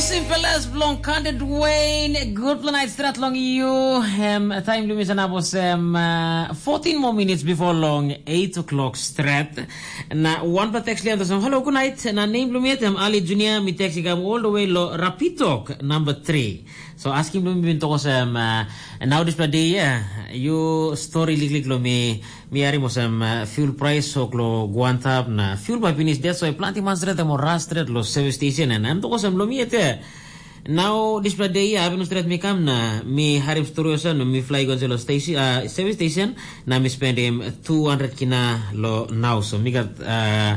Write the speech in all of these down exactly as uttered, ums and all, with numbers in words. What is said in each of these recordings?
Simple as blong kanded Wayne. Good night strat long you. Em, time limit sana bos em uh, fourteen more minutes before long eight o'clock strat. Na one pa text lian tosam, "Hello, good night." Na name lumit em Ali Junior, mi text ikam all the way lo Rapitok number three. So asking lumit bin tokos em uh, now this day, yeah, you story liklik lo mi. Mi harim olsem uh, fuel price sok lo guantap na fuel bai pinis det so planti man stret em ora stret lo service station, and em tokos em lo mi ete. Now dispela day ya abin stret mi kam na mi harim story olsem na mi fly go lo station uh, service station, na mi spend him two hundred kina lo now, so mi got uh,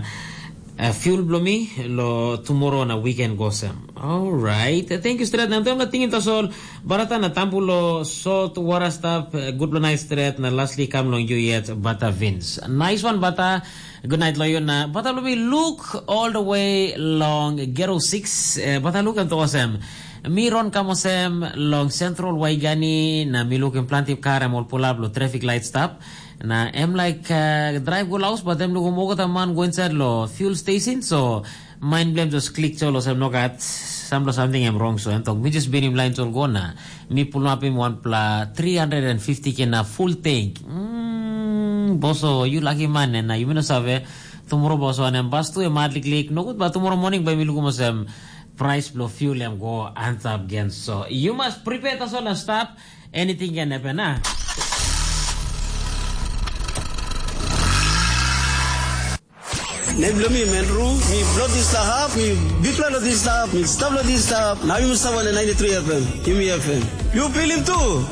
uh, fuel blo mi lo tomorrow na weekend go sem. Alright, thank you stret. Na tem na tingin tasol barata na tampu lo salt water stuff, uh, good lo nice stret na lastly kam long you yet bata Vince. Nice one bata. Good night lo you na bata lo mi look all the way long gero six, uh, bata look and tosem. Mi ron kam osem long Central Waigani na mi lukim planti kar em ol pull up lo traffic light stop. Na em like uh, drive go laus but em lukim olgeta man go inside lo fuel station, so mind blame just click chol osem no gat samlo something em wrong, so em tok mi just binim line chol go na mi pull up him one pla three hundred and fifty ke na full tank. Mm, boso, you lucky man, na you no save tomorrow boso and em bas tu em hardly click no good, but tomorrow morning by mi lukum osem price blow fuel em go answer again. So you must prepare tasol and stop. Anything can happen, ah. Nem bilong mi Menru, mi blo dispela hap, mi bikpela lo dispela hap, mi stap lo dispela hap, na yumi stap wantaim ninety three F M, yumi F M. Yu pilim tu?